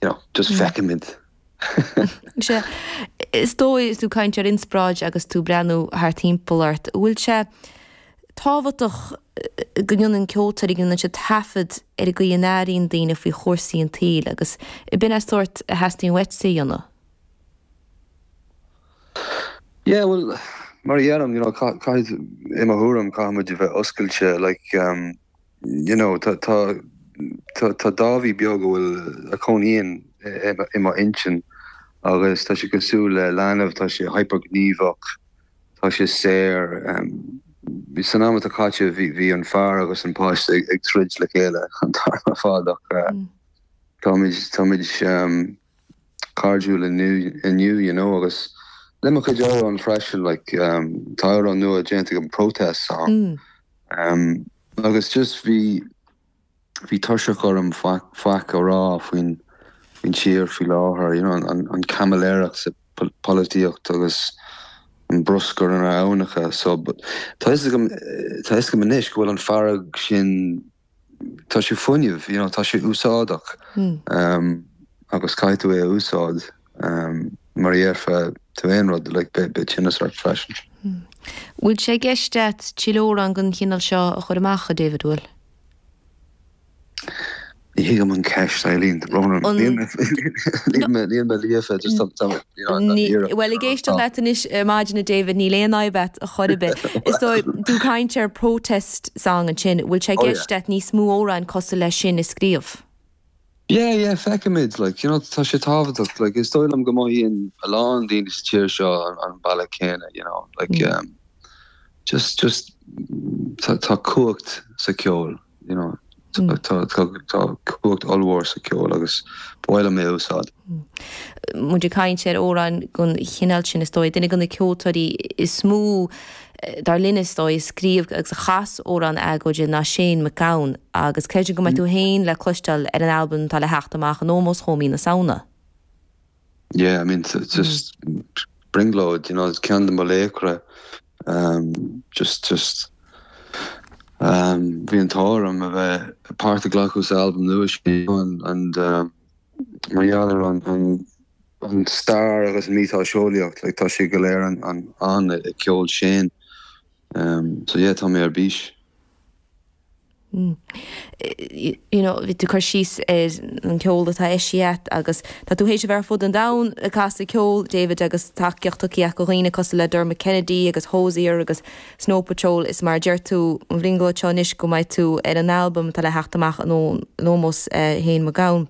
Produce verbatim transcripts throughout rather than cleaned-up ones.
you know, just mm. feicimid. Sé is dóigh is tú ag caint ar inspioráid agus tú breathnú thart timpeall ort. Bhfuil sé tábhachtach go ndéanann ceoltóirí go ndéanann siad taifead ar an gcaoi a n-airíonn daoine faoi chúrsaí an tsaoil agus b'in é an sórt a theastaíonn uaitse a dhéanamh. Yeah, well, mar a dheirim, you know, caithfidh i mo thuairim caithfimid a bheith oscailte, like, um, you know, tá tá tá tá Dáibhí beag a bhfuil a chónaíonn i mo intinn agus tá sé cosúil le leanbh, tá sé hyperghníomhach, tá sé saor. Um, san am atá caite bhí bhí an fear agus an páiste ag, ag troid le chéile an t-am ar fad ach uh, mm. táimid táimid um, cairdiúil inniu inniu you know agus le mo chuid amhrán freisin like um, tá amhrán nua déanta agam protest song mm. um, agus just bhí bhí tuirseach orm faic a rá faoin faoin tír faoi láthair you know, an, an caimiléireacht sa polaitíocht agus an bruscar ar na haibhneacha so but tá a fhios agam tá a fhios agam anois go bhfuil an fearg sin tá sé fuinneamh you know, tá sé úsáideach mm. um, agus caithfidh tú é a úsáid um, mar a dhéarfá tú aon rud like, beidh tinneas ort freisin. Hmm. Bhfuil sé i gceist agat tuilleadh amhrán den chineál seo a chur amach a David bhfuil? Ní thuigim an ceist Eileen Níl mé líofa Well ag éisteacht leat anois maidin a David níl aon fhadhb agat a chor ar bith. Is dóigh tú ag caint ar protest song ansin, bhfuil sé i gceist agat níos mó amhrán cosúil leis sin a scríobh. Yeah, yeah, feicimid like you know tá sé tábhachtach like is dóigh liom go mothaíonn a lán daoine sa tír seo an, an bealach céanna you know like mm. um, just just tá tá cumhacht sa ceol you know mm. tá tá tá cumhacht ollmhór sa ceol agus ba mhaith liom é a úsáid. Mm. Muid ag caint ar amhráin den chineál sin is dóigh duine de na ceoltóirí is mó dar linn is dóigh a scríobh agus a chas amhráin agóide ná Shane MacGowan agus creidim go mbeidh tú féin le cloisteáil ar an albam atá le theacht amach in ómós dhó mí na Samhna. Yeah, I mean it's just mm. brionglóid, you know, it's ceann de mo laochra um, just just um, bhí an t-ádh orm a bheith páirt a ghlacadh sa albam nua sin and, and um, mar gheall ar an, an an stair agus an miotaseolaíocht, like, tá sé go léir an an an i ceol Shane. Um, so yeah, tá mé ar bís. Mm. You know, bhí tú cur síos ar an ceol atá eisithe agat agus tá tú théis a bheith ar fud an domhain ag casadh ceoil David agus tacaíocht tugtha agat do dhaoine cosúil le Dermot Kennedy agus Hozier agus Snow Patrol is mar deir tú an bhliain seo anois go mbeidh tú ar an albam atá le theacht amach in ómós uh, Shane MacGowan.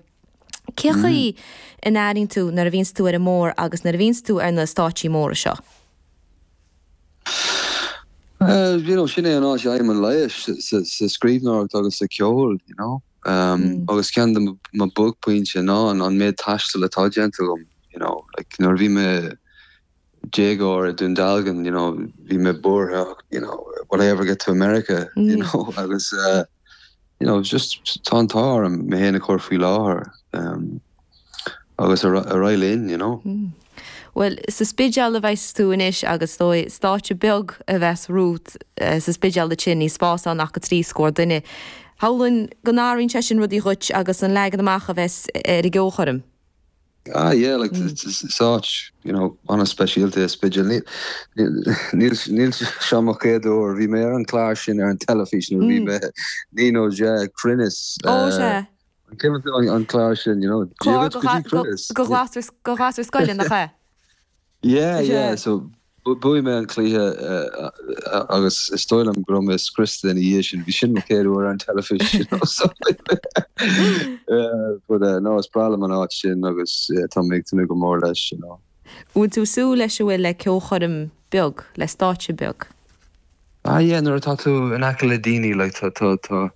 Cé chaoi mm. a n-airíonn tú nuair a bhíonns tú ar an mbóthar agus nuair a bhíonns tú ar na stáitsí móra seo? Uh, you know, sin é an áit a bhfaighim an leigheas sa scríbhneoireacht agus sa ceol, you know. Um, mm. agus ceann de mo buaicphointí ná an an méid taistil atá déanta agam, you know, like nuair bhí mé déagóir i Dún Dealgan, you know, bhí mé buartha, you know, will I ever get to America, mm. you know, agus uh, you know, just tá an t-ádh orm mé féin a chur faoi láthair um, agus ar aghaidh linn, you know. Mm. Well, sa Spidéal a bheas tú anois agus dóigh stáitse beag a bheas romhat uh, sa Spidéal sin níl spás ann ach trí scór duine. Shamhlóinn go n-athraíonn sé sin rudaí dhuit agus an leagan amach a bheas ar an gceolchoirm. Ah yeah, like mm. it's such, you know, an-speisialta é Spidéal. Níl níl seo mo chéad uair bhí mé ar an chlár sin ar an teilifís nó bhí mé naoi nó deich Cruinneas. Ó sé. An chlár sin, you know, go ghasúir scoile nach é. Yeah, yeah, so bhuaigh mé an cluiche agus is dóigh liom go raibh mé scriosta ina dhiaidh sin, bhí sin mo chéad uair ar an teilifís but uh, no is breá liom an áit sin agus tá mé ag tnúth go mór leis you know. Bhfuil tú súil leis a bhfuil le ceolchoirm beag le stáitse beag. Ah yeah, nuair atá tú in aice le daoine like tá tá tá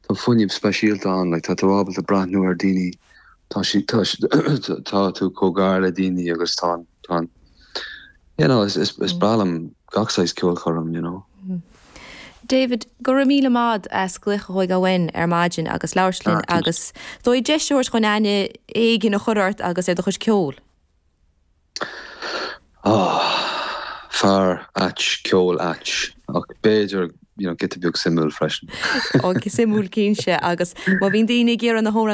tá fuinneamh speisialta ann like tá tú ábalta breathnú ar daoine tá si tá tá tú chomh gar le daoine agus tá tá you know is is is breá liom gach saghas ceolchoirm you know. Mm. David, go raibh míle maith as glaoch a thógáil uainn ar maidin agus labhairt linn ah, agus dóigh deis chun aithne éigin a chur ort agus ar do chuid ceoil. Oh, fear ait ceol ait ach b'fhéidir you know, giota beag suimiúil freisin. Ó suimiúil cinnte agus má bhíonn daoine ag iarraidh na hamhráin